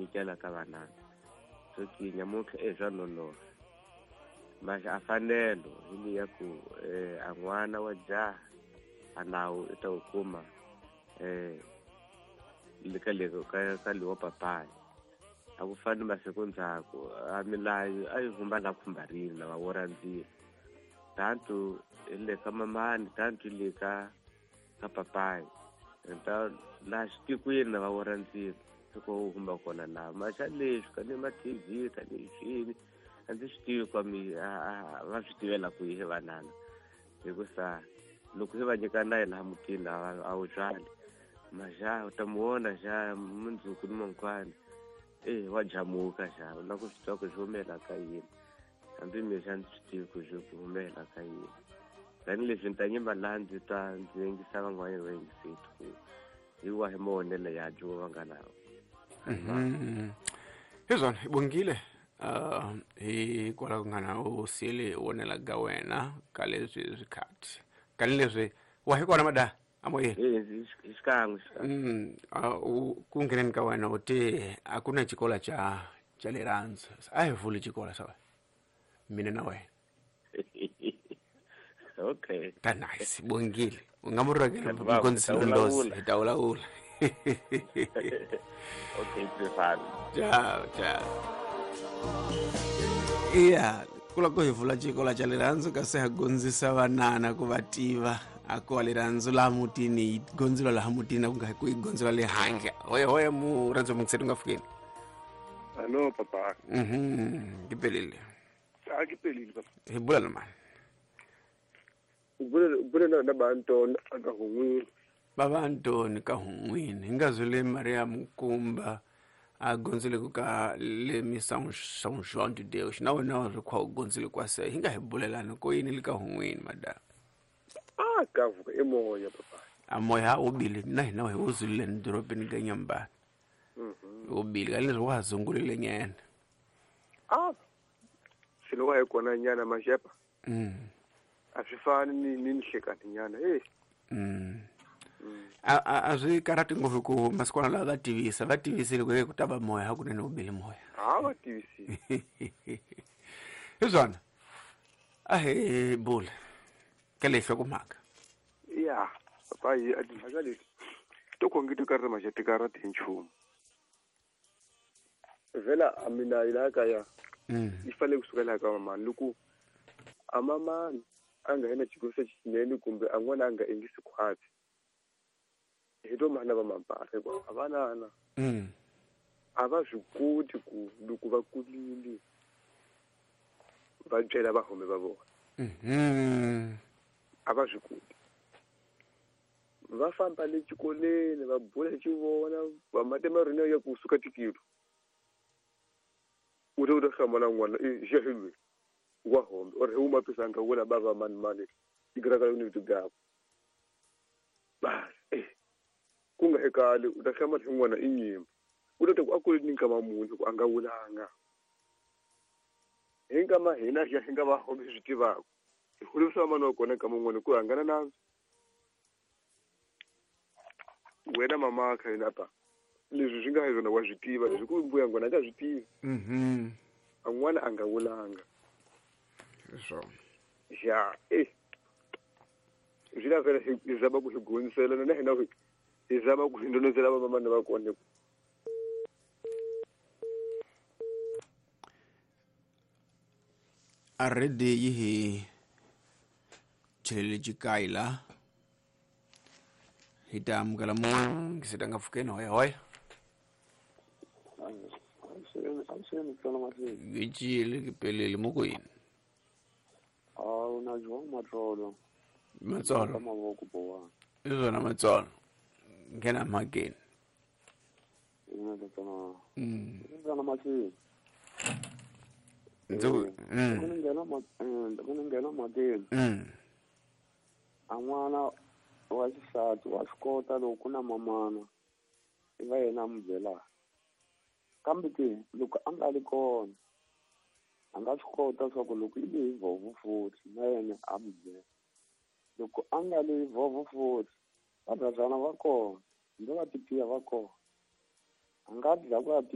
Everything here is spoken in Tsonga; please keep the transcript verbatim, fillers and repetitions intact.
nyikela ka vanana so ki nyamuntlha e swa nonoha maxa a fanelo hi liya ku eh, a n'wana wa jaha a nawu i ta wu kuma eh le ka le ka ka lewa papayi a ku fani masiku ndzhaku a milayo a yi humba la khumbarini lava wo randzile tantu hi le ka mamani tantu hi le ka ka papayi ta laha xitikweni lava wo randzile loko wu humba kona laha maxa leswi ka ni ma T V ka ni swini a ndzi swi tivi kwa mi va swi tivela kwihi vanana hikusa loko hi va nyika na laha mutini a wu byali maxa u ta mu vona xa mundzuku ni mankwani eh wa jamuka xa u lava ku swi tiva ku swi humela ka yini hambi mina ndzi swi tivi ku swi humela ka yini tanihileswi ni ta nyima laha ndzi ta ndzi yingisa van'wanyana va yingiseti ku hi wahi mavonelo ya dyo va nga nawo. Hi swona hi bongile uh hi kwala ku nga na u siyele vonela ka wena ka leswi swikhathi ka leswi wa hi kona mada amoyeni eh xikan'we mm ku ngheneni ka wena u te a ku na xikolo xa xa rirhandzu a hi vuli xikolo xa wena mina na wena. Okay ta nice bongile u nga mu rhangela mukondisi Londozi hi ta vulavula. Okay Stefan, ciao ciao. Iya kula ku hi vula xikolo xa rirhandzu kasi ha gondzisa vanana ku va tiva a ku wa rirhandzu laha mutini yi gondzela laha mutini a ku nga ku yi gondzela le handle. Hoye hoye murhandzu mungiseti u nga fikeni. Hallo papa. Mhm, ke pelile. A ke pelile papa. Hi bula na mani? U bula u bula na ba Antoni ka hun'wini. Baba Antoni ka hun'wini hi nga zule Maria Mukumba a gondzile ku ka le mi São São João de Deus na wena wa ri khwa u gondzile kwa se hi nga hi bulelani ko yini le ka hun'wini madam. A ka vuka e moya papa. A moya wu bile na hina hi wu zulile ni dorobeni ka Nyambani. Mhm. Wu bile ka leswi wa ha zungulile nyana. A swilo wa hi kona nyana maxepa. Mm. A swi fani ni ni nhlekani nyana eh. Mm. A a swi karhati ngopfu ku masikwana lawa va tivisa va tivisile ku ku ta va moya hakunene wu bile moya. Ha va tivisile. Hi swona a hi bula ka leyi hlokomhaka. Ya papa hi a timhaka leti to khonge ti karhi maxa ti karhati hi nchumu. Vhela a mina yi laha kaya yi fanele kusuka laha ka mamani loko a mamani a nga yena xikosi xinene kumbe a n'wana a nga endlisi khwatsi hi to mana va mampahla hikuva a vanana a va swi koti ku loko va kulile va byela vahome va vona. A va swi koti va famba le xikolweni va bula hi xivona va mate marina ya kusuka tikilo u ta u ta hlamala n'wana i xehilwe wa hombe or hi huma pisanga wona bava mani mani igraka yoni tigaba bas eh ku nga hekali u ta hlamala hi n'wana i nyimba u ta ku a kule ni nkama munhu ku a nga wulanga hi nkama hina hi hi nga va hombe swi tivaka hi holovisa mani wa kona nkama n'wana ku hangana na wena mama kha yena pa leswi swi nga hi swona wa swi tiva leswi ku mbuya ngwana a nga swi tivi. Mhm. A n'wana a nga wulanga swona ya eh swi lava vhela hi zama ku hi gondzisela na hina hi zama ku hi ndondzela vamamani va kona. Already yi hi chelele xikayi la hi ta amukela mungiseti nga pfukeni hoya hoya. Ke cile ke pelele mo ko yini? A una João Matsolo. Matsolo. Ka mavoko bowa. I swona Matsolo. Nghena mhakeni. Ina tatana. Mm. Tatana mahlweni. Ndzi ku mm. Ku nghena ma ku nghena mhakeni. Mm. A n'wana wa xisati wa swi kota loko ku na mamana i va yena a n'wi byelaka. Kambe ke loko a nga ri kona a nga swi kota swa ku loko i le hi vovo futhi na yena a n'wi byela. Loko a nga le hi vovo futhi vabazana va kona hambi va tipiya va kona a nga dlaya ku ya